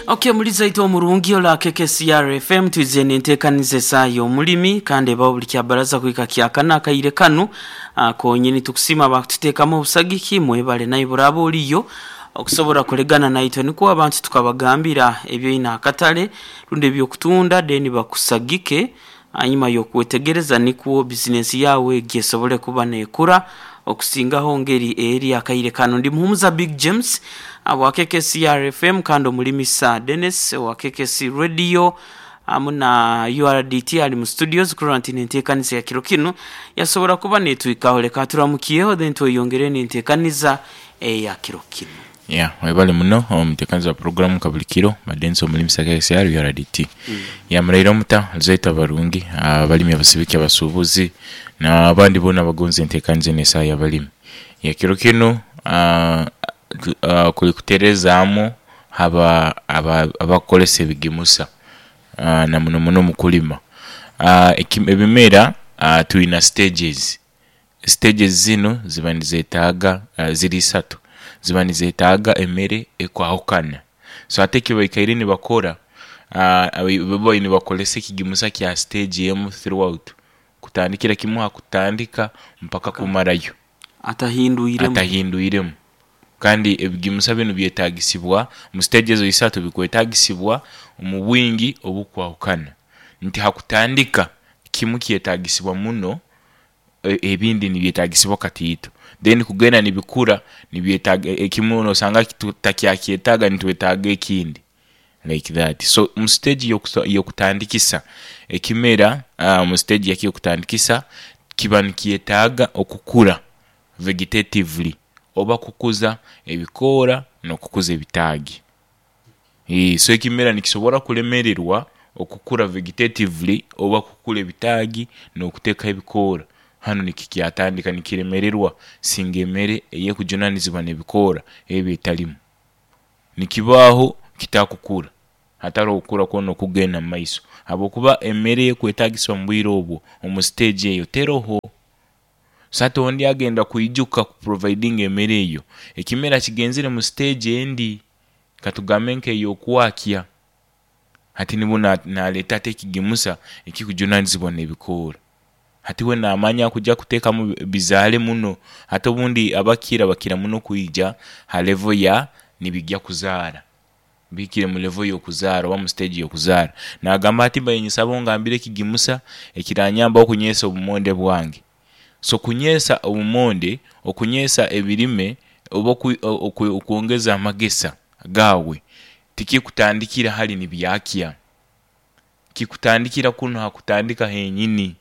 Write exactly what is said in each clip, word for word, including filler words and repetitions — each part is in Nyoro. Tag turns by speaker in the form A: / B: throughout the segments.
A: Okay, muliza itwe omurungi ola K K C R F M, twize nenteekaniza esaa y'omulimi kandi ebaho buli kyabaraza kuhika kyakana akaire kanu ah, konyini. Tukusima bakututeekamu obusagiki, mwebale naye buraba oliyo okusobola kulegana naitwe, nikwo abantu tukabagambira ebyoina akatale rundi ebyokutunda, then bakusagike hanyuma y'okwetegereza, nikwo bizinesi yawe egi esobole kuba nekura okusingaho ngeri eri akaire kano. Ndi Muhumuza Big James wa K K C R F M kandi omulimisa Dennis wa K K C Radio amu na U R D T ali mu studios kurora nti nenteekaniza ya kiro kinu yasobora kuba netwikaho. Leka turamukiyeho, then tweyongere nenteekaniza eya kiro kinu.
B: Yeah, webale muno omuteekaniza wa programu kabuli kiro Madensi omulimisa K C R U R D T. Ya, muraire omuta zaita barungi abalimi, abasibiki, abasuubuzi n'abandi boona abagonza enteekaniza enu esaa y'abalimi. Ya, kiro kinu aa tu- kuli kuteerezaamu aba aba abakukolesa ebigimusa aa na muno muno omu kulima. Aa eki ebimera twina stages, stages zinu ziba nizetaaga, ziri isatu, ziba nizetaaga emere ekwahukana. So hati ekibaikaire nibakora, aa bo nibakolesa ekigimusa kya stage emu throughout, kutandikira kimwe ha kutandika mpaka kumarayo.
A: Atahindwiremu.
B: Atahindwiremu. Kandi ebigimusa binu byetagisibwa mu stage ezo isatu, bikwetagisibwa omu bwingi obukwahukana, nti hakutandika kimu kyetagisibwa muno, e- ebindi nibyetagisibwa katiito, then kugenda nibikura nibyetaaga ekimu nosanga tutakyakyetaaga, nitwetaaga ekindi, like that. So mu stage yokusa yokutandikisa ekimera, aa mu stage yakyo eyokutandikisa kiba nikyetaaga okukura vegetatively oba kukuza ebikoora n'okukuza ebitaagi. Eeh so ekimera nikisobora kulemererwa okukura vegetatively oba kukura ebitaagi n'okuteekaho ebikoora, hanu nikikyatandika nikiremererwa singa emere eyekujunanizibwa n'ebikoora eba etalimu, nikibaho kitakukura hataroho kukura kwona okugenda mumaiso habwokuba emere ekwetagisibwa mubwire obwo omu stage eyo teroho. So hati ondi agenda kwijuka kuprovidinga emere eyo, ekimera kigenzere mu stage endi, katugambe nk'eyokwakya, hati nibwo na naleeta ati ekigimusa ekikujunanizibwa n'ebikoora, hati we namanya kugya kuteekamu bizaale muno. Hati obundi abakira bakira muno kwija ha level ya nibigya kuzaara, bihikire mu level y'okuzaara oba mu stage y'okuzaara, nagamba ati mbaire ninsaba ongambire ekigimusa ekiranyambaho okunyeesa obumonde bwange. So kunyeesa obumonde, okunyeesa ebirime oba oku oku okwongeza amagesa gaawe, tikikutandikira hali nibyakya, kikutandikira kunu hakutandika henyini,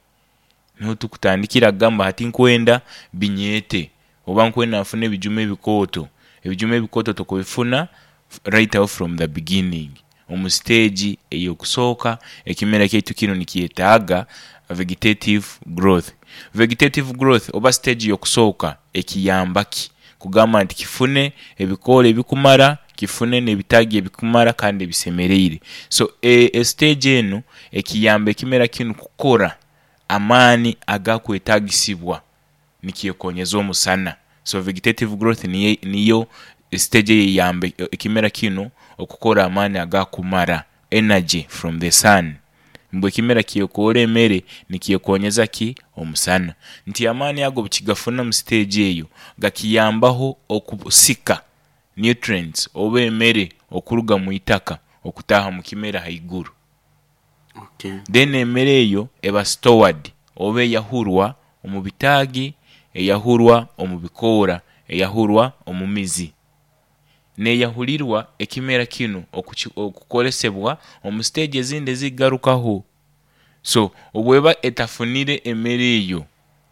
B: niho tukutandikira kugamba hati nkwenda binyeete oba nkwenda nfune ebijuma ebikooto. Ebijuma ebikooto tokubifuna right awo from the beginning. Omu stage ey'okusooka ekimera kyaitu kinu nikyetaaga vegetative growth. Vegetative growth oba stage ey'okusooka ekiyamba ki? Kugamba nti kifune ebikoora ebikumara, kifune n'ebitaagi ebikumara kandi ebisemereire. So e stage enu ekiyamba ekimera kinu kukora amaani agakwetagisibwa nikyekonyeza omusana. So vegetative growth niyo niyo stage eyeyamba ekimera kinu okukora amaani agakumara, energy from the sun, ngu ekimera kyekoore emere nikyekonyeza ki? Omusana. Nti amaani ago obukigafuna omu stage eyo, gakiyambaho okusika nutrients oba emere okuruga mwitaka okutaaha omu kimera haiguru.
A: Okay.
B: Then emere eyo eba stored oba eyahurwa omu bitaagi, eyahurwa omu bikoora, eyahurwa omu mizi, neeyahulirwa ekimera kinu okuki okukolesebwa omu stage ezindi ezikugarukaho. So obweba etafunire emere eyo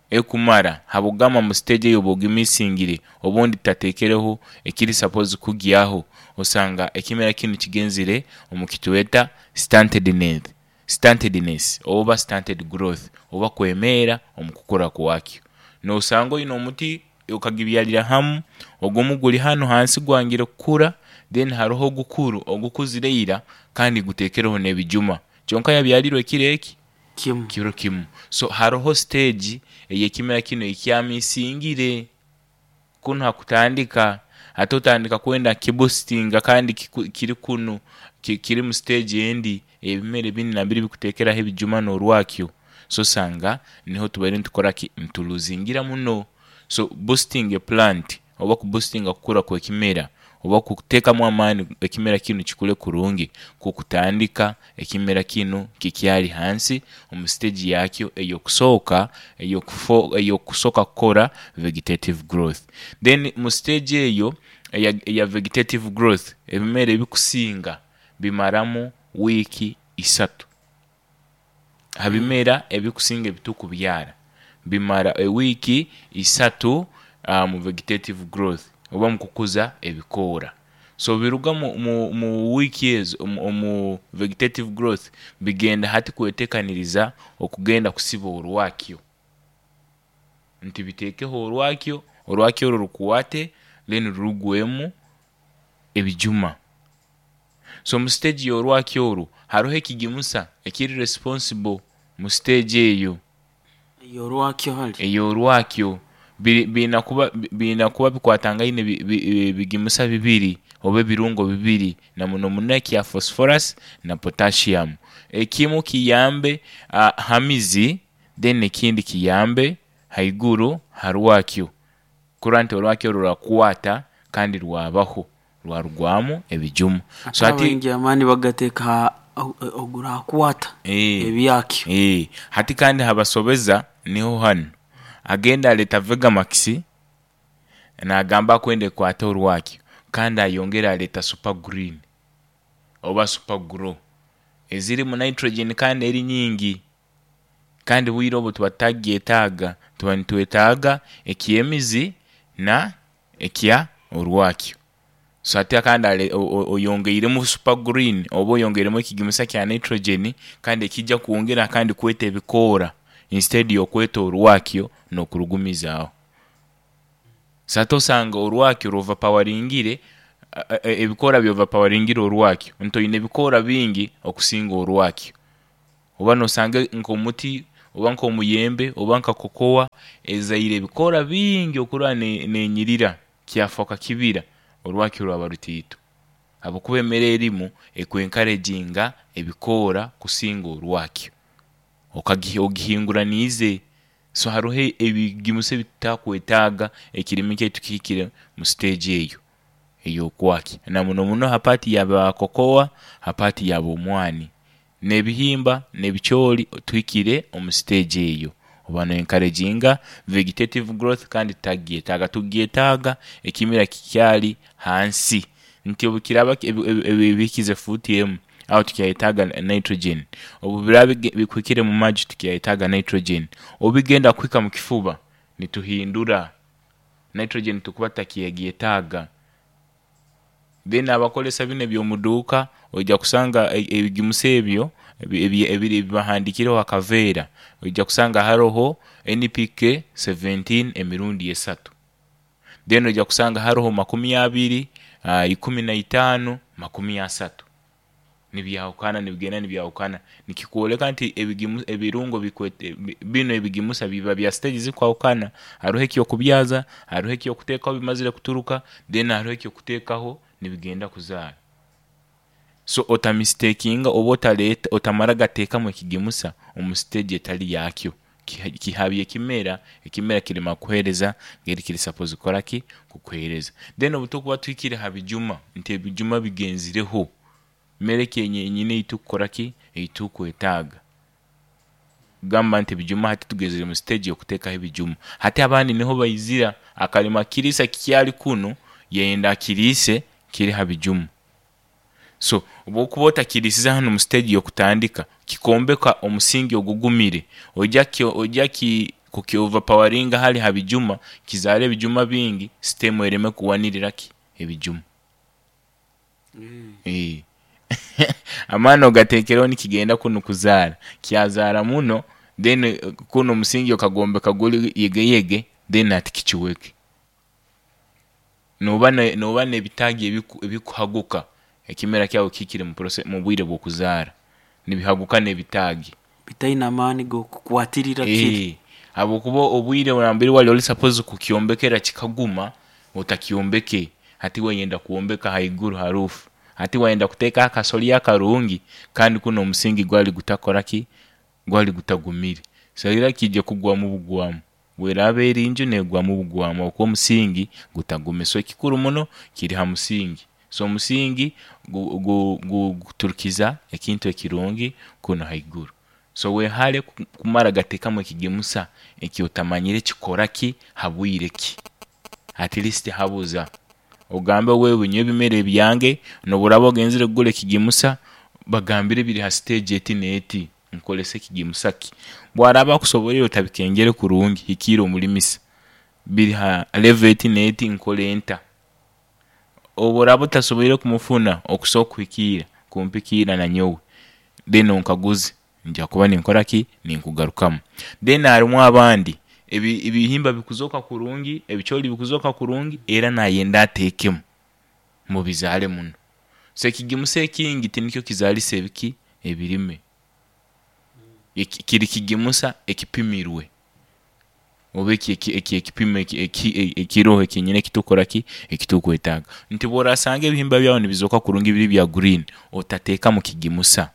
B: ekumara, habwokugamba mu stage eyo oba ogimisingire obundi tateekereho ekiri supposed kugyaho, osanga ekimera kinu kigenzere omu kitweta stuntedness stuntedness oba stunted growth oba kwemeera omu kukura kwakyo. Nosanga oine omuti okagibyarira hamu, ogumu guli hanu hansi gwangire kukura, then haroho ogukuru ogukuzire ira kandi guteekereho n'ebijuma, kyonka yabyalirwe ekiro eki?
A: Kimu.
B: Kiro kimu. So haroho stage ey'ekimera kinu ei kyamisingire kunu hakutandika. Ate otandika kwenda kiboostinga kandi kiku- kiri kunu ki- kiri mu stage endi, ebimera ebindi nambere bikutekeraho ebijuma n'orwakyo. So sanga niho tubaire nitukora ki, nituluzingira muno. So boosting a plant oba kuboostinga kukura kw'ekimera oba kuteekamu amaani ekimera kinu kikule kurungi, kukutandika ekimera kinu kikyali hansi omu stage yakyo ey'okusooka, ey'okufo ey'okusooka kukora vegetative growth. Then mu stage eyo eya, eya vegetative growth, ebimera ebikusinga bimaramu wiiki isatu. Ha bimera ebikusinga ebitukubyara bimara ewiiki isatu uh, mu vegetative growth oba mu kukuza ebikoora. So biruga mu, mu, mu wiiki ezo omu, omu vegetative growth, bigenda hati kwetekaniriza okugenda kusiba orwakyo, nti biteekeho orwakyo, orwakyo orwo rukwate, then rurugwemu ebijuma. So mu stage y'orwakyo orwo haroho ekigimusa ekiri responsible mu stage eyo.
A: Yorwakyo hali.
B: Ey'orwakyo biri- biina kuba biina kuba bikwatangaine bi- bi- bigimusa bibiri oba ebirungo bibiri, na muno muno ekya phosphorus na potassium. Ekimu kiyambe uh, ha mizi, then ekindi kiyambe haiguru ha rwakyo, kurora nti orwakyo rurakwata kandi rwabaho rwarugwamu ebijuma.
A: So hati abaingi amaani bagateeka ha ogurakwata
B: Eh.
A: ebyakyo.
B: Eh, hati kandi habasobeza niho hanu agenda aleta Vegamax, nagamba akwenda ekwata orwakyo, kandi ayongera aleta Super Green oba Super Grow ezirimu nitrogen kandi eri nyingi, kandi bwire obu tuba tutagyetaaga, tuba nitwetaaga eky'emizi na ekya orwakyo. So ate kandi ale- o- o- oyongeiremu Super Green oba oyongeiremu ekigimusa kya nitrogen, kandi ekijja kwongera kandi kweta ebikoora instead y'okweta orwakyo n'okurugumizaaho. So ate osanga orwakyo rw'overpoweringire, a- a- ebikoora by'overpoweringire orwakyo, nti oine ebikoora bingi okusinga orwakyo. Oba nosanga nk'omuti oba nk'omuyembe oba nka kokowa ezaire ebikoora bingi okurora ne- nenyirira kyafooka kibira, orwakyo rwaba rutiito, habwokuba emere erimu ekwenkarejinga ebikoora kusinga orwakyo, okagi ogihinguraniize. So haroho ebigimusa ebitutakwetaaga ekirimi kyaitu kihikire mu stage eyo ey'okwakya, na muno muno ha part yaba kokowa, ha part yaba omwani n'ebihimba n'ebicooli, tuhikire omu stage eyo oba noenkarejinga vegetative growth, kandi tutagyetaaga, tugyetaaga ekimera kikyali hansi, nti obu kiraba ebi- ebi- ebi- bihikize fuuti emu, aho tukyayetaaga nitrogen. Obu biraba bige- bikuhikire mu maju, tukyayetaaga nitrogen. Obu bigenda kuhika mu kifuba, nituhindura nitrogen, tukuba tutakyegyetaaga. Then abakolesa bino ebyomuduuka, ojja kusanga e- ebigimusa ebyo ebi- ebi- ebiri ebibahandikireho akaveera, ojja kusanga haroho N P K kumi na munaana emirundi esatu, then ojja kusanga haroho makumi abiri, uh, ikumi na itaano, makumi asatu, nibyahukana, nibigenda nibyahukana, nikikwoleka nti ebigimu, ebirungo bikwete bi- bino ebigimusa biba bya stage zikwahukana. Haroho ekyokubyaza, haroho ekyokuteekaho bimazire kuturuka, then haroho ekyokuteekaho nibigenda kuzaara. So otamistakinga oba otaleta otamara gateekamu ekigimusa omu stage etali yakyo. Kiha- kihabya ekimera, ekimera kirema kuheereza ngeri kiri suppose kukora ki, kukuheereza. Then obu tukuba tuhikire ha bijuma, nti ebijuma bigenzireho, mere ki enyine eitukukora ki, eitukwetaaga, gamba nti ebijuma hati tugezere mu stage y'okuteekaho ebijuma. Hati abandi niho baizira akalima kiriisa kikyali kunu, yenda akiriise kiri ha bijuma. So obwokuba otakiriisize hanu mu stage y'okutandika kikombeka omusingi ogugumire, ojja kyo ojja ki kuki overpoweringa hali ha bijuma, kizaara ebijuma bingi, stem ereme kuwanirira ki ebijuma. Eh. Amaani ogateekereho nikigenda kunu kuzaara, kyazaara muno, then eh, kuno omusingi okagombeka guli yegeyege, then ati kikiweke noba ne- noba n'ebitaagi ebiku- ebikuhaguka ekimera kyawe kihikire mu process- mu bwire bw'okuzaara, nibihaguka n'ebitaagi
A: bitaine amaani g'okukwatirira kiri.
B: Eh, habwokuba obwire nambere wali oli suppose kukyombekera kikaguma, otakyombeke. Hati wayenda kuombeka haiguru harufu, hati wayenda kuteeka akasolya akarungi, kandi kuno omusingi gwali gutakoraki, gwali gutagumire. So era kijja kugwamu bugwamu, bweraba eri nju negwamu bugwamu okuba omusingi gutagumire. So ekikuru muno kiri ha musingi. So omusingi guturukiza ekintu ekirungi kunu haiguru. So wehare kumara gateekamu ekigimusa eki otamanyire kikora ki habwire ki. At least habuza ogambe wewe nyowe ebimera ebyange nobu oraaba ogenzere kugura ekigimusa bagambire biri ha stage eti neeti, nkozese kigimusa ki. Bwaraaba akusoborreire otabikengere kurungi hikiira omulimisa biri ha level eti neeti nkole nta. Obu oraaba otasoboire kumufuna okusobola kukuhikiira, kumpikiira nanyowe then onkaguze nyija kuba ninkoraki, ninkugarukamu. Then harumu abandi ebi- ebihimba bikuzooka kurungi, ebicoori bikuzooka kurungi, era nayenda ateekemu mubizaale muno. So ekigimusa ekingi tinikyo kizaalisa ebiki ebirime, kiri kigimusa ekipimirwe oba eki eki ekipimo ekiroho kyenyini ekitukukoraki, ekitukwetaaga. Nti obu orasanga ebihimba byawe nibizooka kurungi biri bya green, otateekamu kigimusa,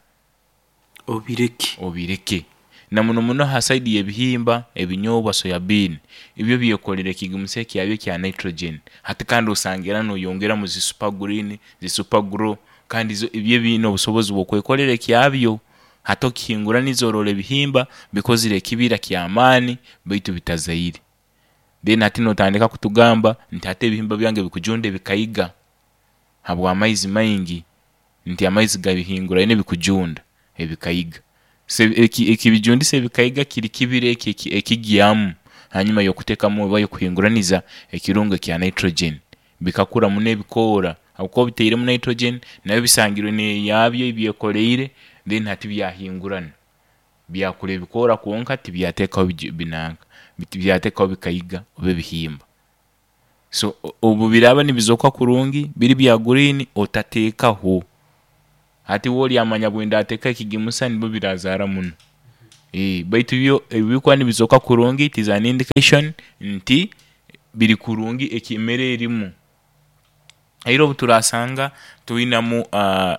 A: obireke,
B: obireke. Na muno muno ha side y'ebihimba, ebinyoobwa, soya bean, ibyo byekolera ekigimusa kyabyo ekya nitrogen. Hati kandi osanga era noyongeramu zi super green, zi super grow, kandi ibyo biine obusobozi bwokwekolera ekyabyo. Hati okihinguraniza orora ebihimba bikozire ekibira kyamaani baitu bitazaire. Then hati notandika kutugamba nti hati ebihimba byange bikujunda ebikaiga habwamaizi maingi, nti amaizi gabihinguraine bikujunda ebikaiga. So ekibijundisa ebikaiga kiri kibira eki ekigyamu hanyuma yokuteekamu oba yokuhinguraniza ekirungo ekya nitrogen, bikakura muno ebikoora habwokuba obiteiremu nitrogen nabyo bisangirwe neyabyo eyibyekoleire, then hati byahingurana byakura ebikoora kwonka tibyateekaho binanka, tibyateekaho bikaiga oba ebihimba. So obu biraaba nibizooka kurungi biri bya green, otateekaho. Hati iwe oryamanya bwindateekaho ekigimusa nibyo birazaara muno, baitu byo obu bikuba nibizooka kurungi it is an indication nti biri kurungi emere erimu. Era obu turasanga twinamu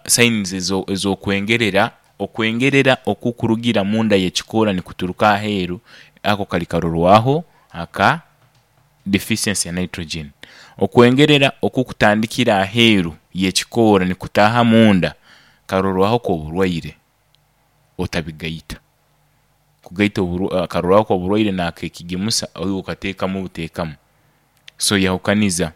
B: signs ezokwengerera, okwengerera okukurugira munda yekikoora nikuturuka aheeru, ako kali karorwaho aka deficiency ya nitrogen. Okwengerera okukutandikira aheeru yekikoora nikutaaha munda karorwaho koburwaire, otabigaita. Kugaita akarorwaho koburwaire nakekigimusa iwe okateekamu buteekamu. So yahukaniza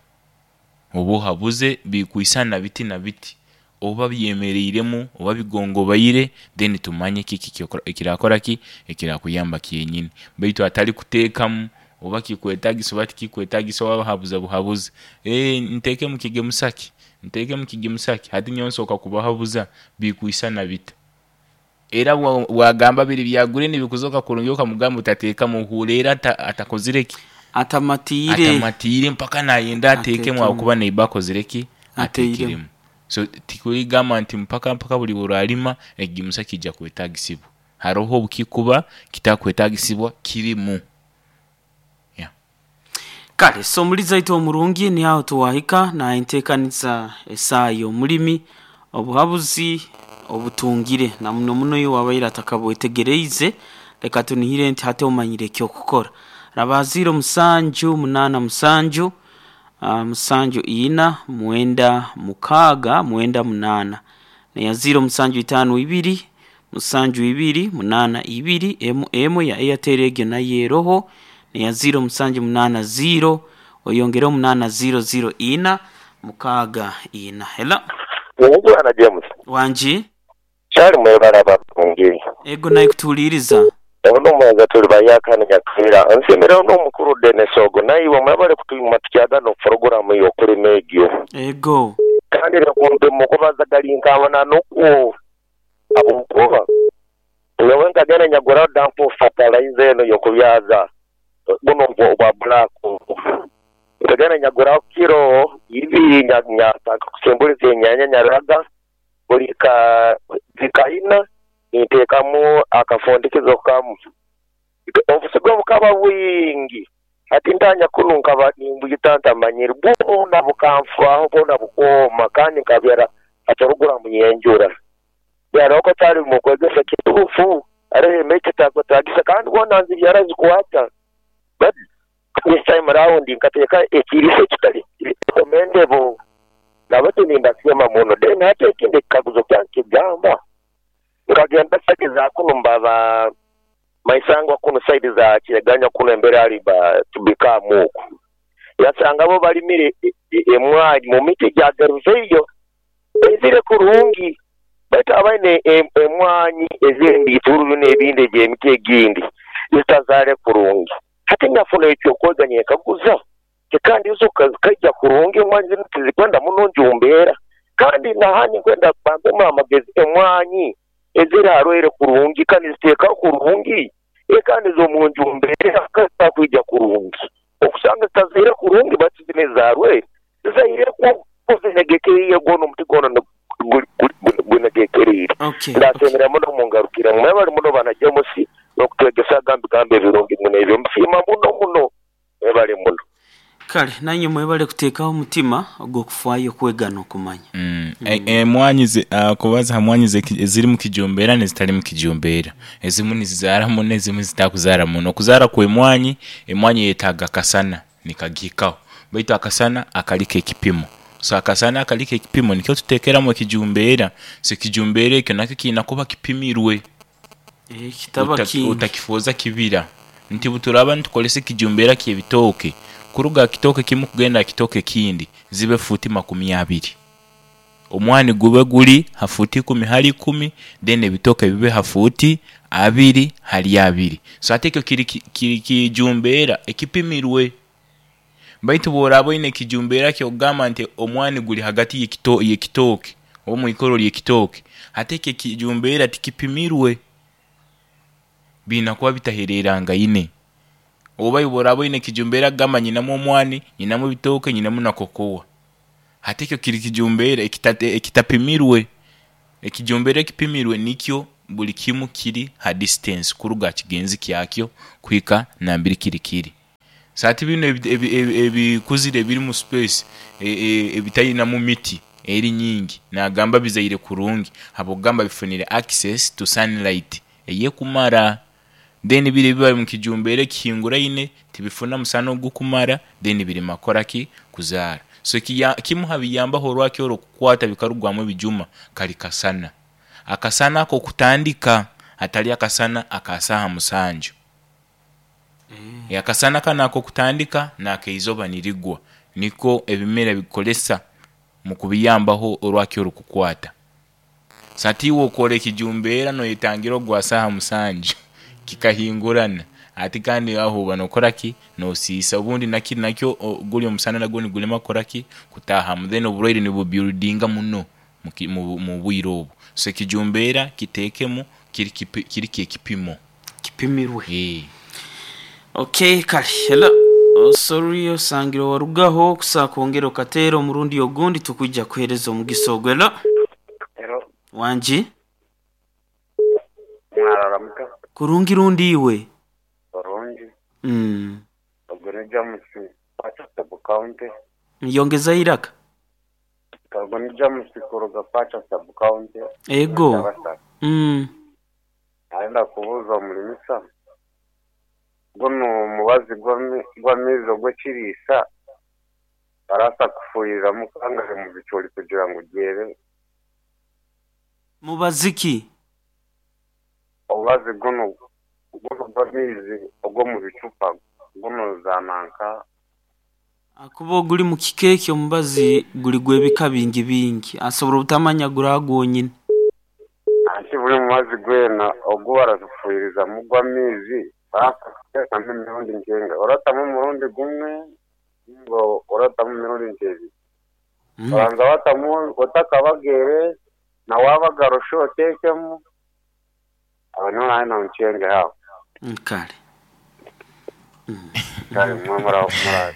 B: oba ohabuze bikwiisana biti na biti, oba byemereiremu oba bigongobaire then tumanye kiki ekirakoraki, ekirakuyamba kyenyini, baitu hatari kuteekamu oba kikwetagisa oba tikikwetagisa wabahabuza buhabuzi, nteekemu kigimusa ki, nteekemu kigimusa ki, hati nyowe nsobola kubahabuza bikwiisana bita. Era bwagamba biri bya green bikuzooka kurungi okamugamba otateekamu ohuura era atakozire ki,
A: atamatiire,
B: atamatiire mpaka nayenda ateekemu habwokuba neighbour akozire ki, ateekiremu. So tikugamba nti mpaka mpaka buri bworarima ekigimusa kiija kwetagisibwa, haroho obukikuba kitakwetagisibwa kirimu.
A: Kale so omulizi waitu omurungi ni aho tuwahika nayenteekaniza esaaha y'omulimi, obuhabuzi obutungire na muno muno iwe wabaire atakabwetegereize, leka tunihire nti hati omanyire ekyokukora. Raba ziro musanju munaana musanju, musanju ina, mwenda mukaaga, mwenda munaana, neya ziro musanju itaano ibiri, musanju ibiri, munaana ibiri, emu emu ya Airtel egyo nayo eroho, neya ziro musanju munaana ziro, oyongereho munaana ziro ziro ina, mukaaga ina. Hello?
C: Bwana James.
A: Wangi?
C: Kyali mwebale abarungi.
A: Ego naye kutuuliriza.
C: Ono omwenza tuli bayakani Nyakeera. Nsiimire n'omukulu Denis ogo naiwe mwebale kutwima tukyagana oku y'okulima egyo.
A: Ego.
C: Kandi kumbe mukubaza gali nkabona nokwo habwokuba nyowe nkagenda nyaguraho dump fertilizer eno y'okubyaza buno obwa black. Nkagenda nyaguraho kiro ibiri nyatandika kusimbuliza enyanya nyaraga buli ka zikaina nteekamu akafundikizo kamu. Obusigo bukaba bwingi Ati ntanya kunu nkaba nimbuyita ntamanyire bwona bukanfaaho bwona bukooma kandi nkabyara atorugura munyenjura byara uko tari mu kwegesa kitufu arehe emeke takwetagisa kandi bwona nzibyara zikwata. But this time round nkateeka ekiriso kitali recommendable nabati nindasema muno. Then hata ekindi kikaguzo kyange kigamba nkagenda side za kuno mbaba maisangwa kuno side za Kireganya kuno embere ali ba tubika muku yasanga bo balimire emwanyi mu miti gya geruveyo ezire kurungi baitu abaine emwanyi ezindi ituru n'ebindi gy'emiti egindi zitazale kurungi. Hati nyafuna ekyo kweganya ekaguza kandi izo kaija kurungi emwanyi zinu tizikwenda muno njumbeera kandi nahani kwenda bambemu amagezi emwanyi ezirarwaire kurungi kandi ziteeka kurungi kandi zo njumbeera kakuija kurungi okusanga zitazaire kurungi bati zine zarwaire zizaire kuzinegekeriye gono omuti gono gunegekerire. Ndasemera muno mungarukira mwebali muno banajamusi n'okutwegesa gambi gambi ebirungi muno ebyo musiima muno muno mwebale muno.
A: Kale nanye mwebale kuteekaho omutima ogw'okufaayo kwega n'okumanya.
B: Mm. Emwanyi mm. uh, kubaza hamwanyi eziri mu kijumbeera n'ezitali mu kijumbeera, ezimu nizizaara muno ezimu zitakuzaara muno. Okuzaara kw'emwanyi, emwanyi yetaaga akasana nikagihikaho, baitu akasana akaliko ekipimo. So akasana akaliko ekipimo nikyo tuteekeramu ekijumbeera. So ekijumbeera ekyo nakyo kiina kuba kipimirwe,
A: eh, kitaba kingi
B: utakifuuza kibira nti buturaba nitukolesa ekijumbeera ky'ebitooke kuruga kitooke kimu kugenda kitooke kindi zibe futi makumi abiri, omwani gube guli hafuti ikumi hali ikumi, then ebitooke bibe hafuti abiri hali abiri. So ate ekyo kiri kiri kijumbeera ekipimirwe. Baitu bw'oraba oine ekijumbeera ky'okugamba nti omwani guli hagati y'ekito y'ekitooke oba mwikoro ly'ekitooke, ate ekyo ekijumbeera tikipimirwe, biina kuba bitahererangaine. Oba bw'oraba oine ekijumbeera kugamba nyinamu omwani, nyinamu ebitooke, nyinamu na kokowa, ate ekyo kiri kijumbeera ekitapimirwe. Ekijumbeera ekipimirwe nikyo buli kimu kiri ha distance kuruga kigenzi kyakyo kuhika nambiri kiri kiri. So ati bino ebikuzire ebiri mu space ebitayinamu miti eri nyingi nagamba bizaire kurungi habwokugamba bifunire access to sunlight eyekumara. Then biri biba mu kijumbeera ekihinguraine tibifuna musana ogukumara, then biri makoraki kuzaara. So kimu habiyambaho orwaki orwo kukwata bikarugwamu ebijuma kali kasana. Akasana ako kutandika atali akasana akasaha musanju. Mm. Akasana kana ako kutandika nakeizoba nirigwa niko ebimera bikolesa mu kubiyambaho orwaki orwo kukwata. Sati iwe okora ekijumbeera noyetangira ogwa saha musanju kikahingurana ati kandi aho banokoraki nosiisa obundi nakiri nakyo guli omusana nagwo nigulema koraki kutahamu, then oburwaire nibubuildinga muno mu bwire obu. So ekijumbeera kiteekemu kiri kiri ekipimo
A: kipimirwe.
B: Eh.
A: Okay, kale hello. Oh, sorry osangire warugaho kusa kwongera okateera omurundi ogundi tukujja kuheereza omugisa ogwo. Hello.
D: Hello.
A: Wangi
D: Mwararamuka.
A: Kurungi rundi iwe.
D: Kurungi.
A: Mm.
D: Ogwo ni James Pacha sub county.
A: Yongeza iraka.
D: Ogwo ni James kuruga Pacha sub county.
A: Ego. Mm.
D: Naenda kubuuza omulimisa guno omubazi gw'amaizi ogw'ekiriisa barasa kufuhiriramu kangare mu bicoori kugira ngu gyere.
A: Mubazi ki?
D: Omubazi guno guno gw'amaizi ogw'omu bicupa guno zananka.
A: Akuba oguli mu kikeeki omubazi guli gw'ebika bingi bingi asobola obutamanya gura gwonyini.
D: Anti buli mubazi gwena ogwo barafuhirizamu gw'amaizi barasa kuteekamu emirundi nkenga oratamu omurundi gumwe ngo oratamu emirundi nkebiri. Oranza watamu otakabagere na wabagarusha oteekemu aho niho nawe noncenge haho.
A: Kale.
D: Kale mwe muraho muraho.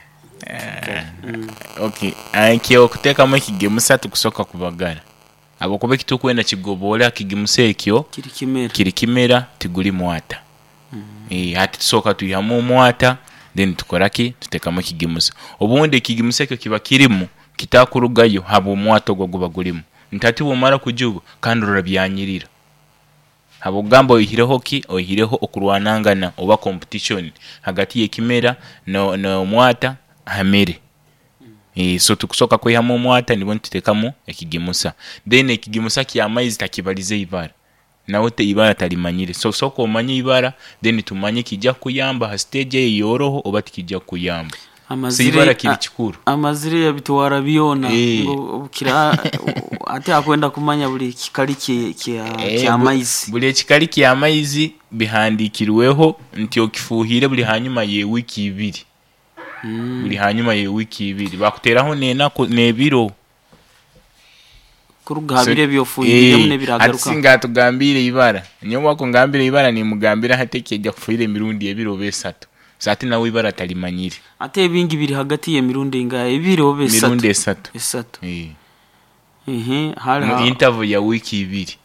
B: Okay, ekyo okuteekamu ekigemusa tukusooka kubagara habwokuba ekitukwenda kigoboole akigimusa ekyo
A: kiri kimera
B: kiri kimera tiguli mwata. Mm. Eh, hati tusooka tuyihamu omwata, Then tukora ki? Tutekamu ekigimusa. Obundi ekigimusa ekyo kiba kirimu kitakurugayo habw'omwato ogwo guba gulimu. Ntati bwomara kujuba kandi orora byanyirira. Habwokugamba oihireho ki? Oihireho okurwanangana oba competition hagati y'ekimera no- n'omwata hamere. Eh, so tukusoka kwihamu omwata nibwo nitutekamu ekigimusa. Then ekigimusa ky'amaizi takibalize ibara, nawe te ibara talimanyire. So soka omanye ibara, then tumanye kijja kukuyamba ha stage eyo yoroho oba tikijja kukuyamba. So
A: Amazire
B: ibara kiri
A: a-
B: kikuru.
A: Amazire yabitwara byona.
B: Eh.
A: Ngo kira ate akwenda kumanya buli kikali kye kya
B: Eh,
A: kya
B: bu-
A: maizi.
B: Buli ekikali ky'amaizi bihandikirweho nti okifuuhire buli hanyuma y'ewiiki ibiri.
A: Mm.
B: Buli hanyuma y'ewiiki ibiri bakuteraho n'enaku n'ebiro.
A: Kuruga ha
B: So-
A: biro ebyofuhiriremu
B: Eh, ati
A: n'ebiragaruka.
B: singa atugambire ibara, nyowe wako ngambire ibara nimugambira hati ekijja kufuhira emirundi ebiri oba esatu. So ate nawe ibara talimanyire.
A: Ate ebingi biri hagati y'emirundi ingahe? Ebiri oba esatu?
B: Mirundi esatu.
A: Esatu.
B: Eh.
A: Ehe, hali
B: Mu
A: ha-
B: interval ya wiiki ibiri.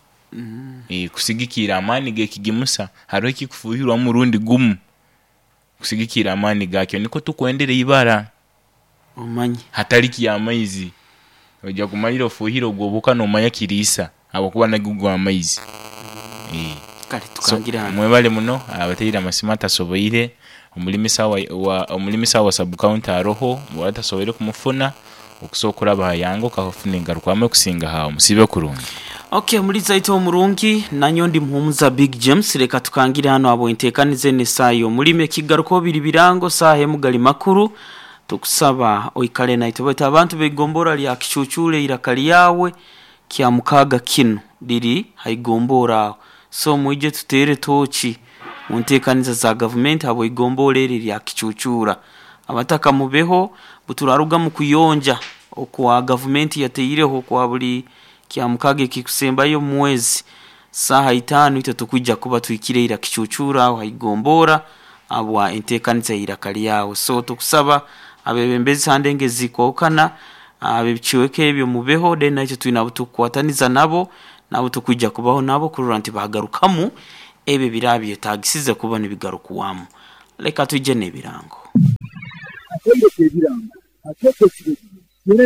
B: Eh, kusigikira amaani g'ekigimusa hariho ekikufuhirwa murundi gumu kusigikira amaani gakyo niko tukwendera ibara
A: omanye.
B: Hatali kyamaizi. Ojja kumalira ofuhire ogwo obuka nomanya kiriisa habwokuba nagwo gw'amaizi. Eh.
A: Kale
B: So,
A: tukangira hano.
B: mwebale muno abateire amasimu atasoboire omulimisa wa, wa, omulimisa wa sub county aroho bwaba atasoboire kumufuna okusobola okuraba hayange okafuna engarukwamu ekusinga hawo. Musibe kurungi.
A: Okay, muliza ito omurungi nanyo ndi muhumuza Big James. Reka tukangire hano abo entekanize n'esaayo omulimi ekigaruko biri birango saaha emu gali makuru. Tukusaba oikale naitwe baitu abantu begombora lya kicucule iraka lyawe kya mukaga kino liri haigombora aho. So mwije tutere tochi mu ntekaniza za gavumenti abo igombora eri lya kicucura. Abataka mubeho buturaruga mu kuyonja okwa gavumenti yateireho kwa buli kya mukaga ekikusembayo mu mwezi saha itano itwe tukwijja kuba twikire ira kicucura aho haigombora abwa enteekaniza y'iraka lyawe. So tukusaba abebembezi hande zikwahukana abebikiweko ebyo mubeho, then nakyo twine abo tukukwataniza nabo nabo tukwijja kubaho nabo kurora nti bagarukamu ebyo birabyetagisize kuba nibigarukuwamu. Leka tujje n'ebirango.
E: Akende ebirango akeeko ekirezi.